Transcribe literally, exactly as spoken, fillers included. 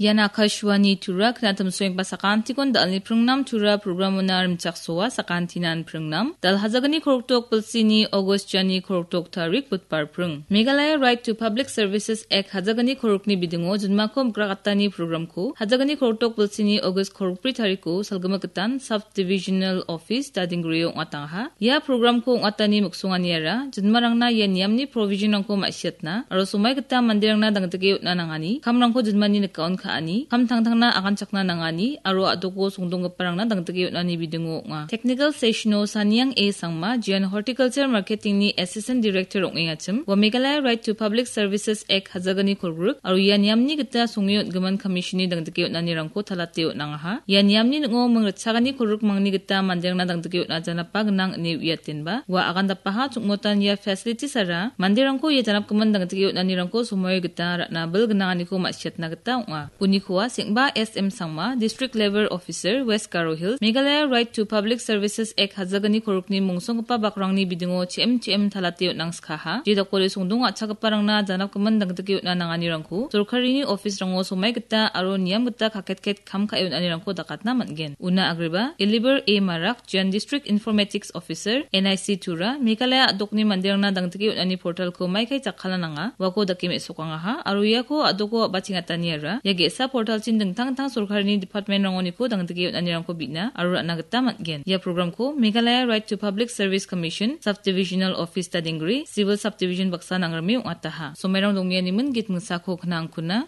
Ian Akashvani Tura, knatim soengba sakantikon dalni pringnam Tura programona rimchaksoa sakantinan pringnam. Dal hajagni koroktok bilsini August jani koroktok tarik Budbar pring. Meghalaya Right to Public Services Act hajagni korokni bidingo jinmako mikrakatani programko hajagni koroktok bilsini August korokbri tariko salgimik gitan Sub-Divisional Office Dadinggrio ong·atangaha. Ia programko ong·atani miksonganiara jinmarangna ia niamni provisionrangko ma·siatna aro somai gita manderangna dangdike on·a nangani kamrangko jinmani nikaon ka·ani, kam tangtangna aganchakna nangani aro a·doko songdonggiparangna dangdike on·ani bidingo ong·a. Technical sessiono Saniang A Sangma, Jian Horticulture Marketingni Assistant Director ong·engachim, ua Meghalaya Right to Public Services Act hajagni kolgrik aro ia niamni gita songe on·gimin commissionni dangdike on·anirangko talate on·angaha. Ia niamni ning·o ming ritchagani kolgrikmangni gita manderangna dangdike on·a janapa gnang ine uiatenba, ua agandapaha chongmotan ia facilities-ara manderangko ia janapgimin dangdike on·anirangko somoio gita ra·na bil gnanganiko ma·siatna gita ong·a. Unikoa Sengba S M Sangma, District Level Officer, West Garo Hills, Meghalaya Right to Public Services Act hajagni kolgrikni mongsonggipa bakrangni bidingo chi·im chi·im talate on·angskaha. Jedakode songdong a·chakgiparangna janapgimin dangdike on·a nanganirangko sorkarini office-rango somai gita aro niam gita kaketket kam ka·e on·anirangko dakatna man·gen. Una agreba, Eliber A Marak, Jian District Informatics Officer, N I C Tura, Meghalaya a·dokni manderangna dangdike on·ani portalko maikai jakkalna nanga, uako dake me·sokangaha, aro iako a·doko a·bachengataniara ia ge·sa portalchin dingtang dingtang sorkarini department-rangoniko dangdike on·anirangko bina aro ra·na gita man·gen. Ia programko Meghalaya Right to Public Service Commission, Sub-Divisional Office Dadinggri, Civil Subdivision baksa nangrime ong·ataha. Somairang dongmeanimin git mingsako knangkuna.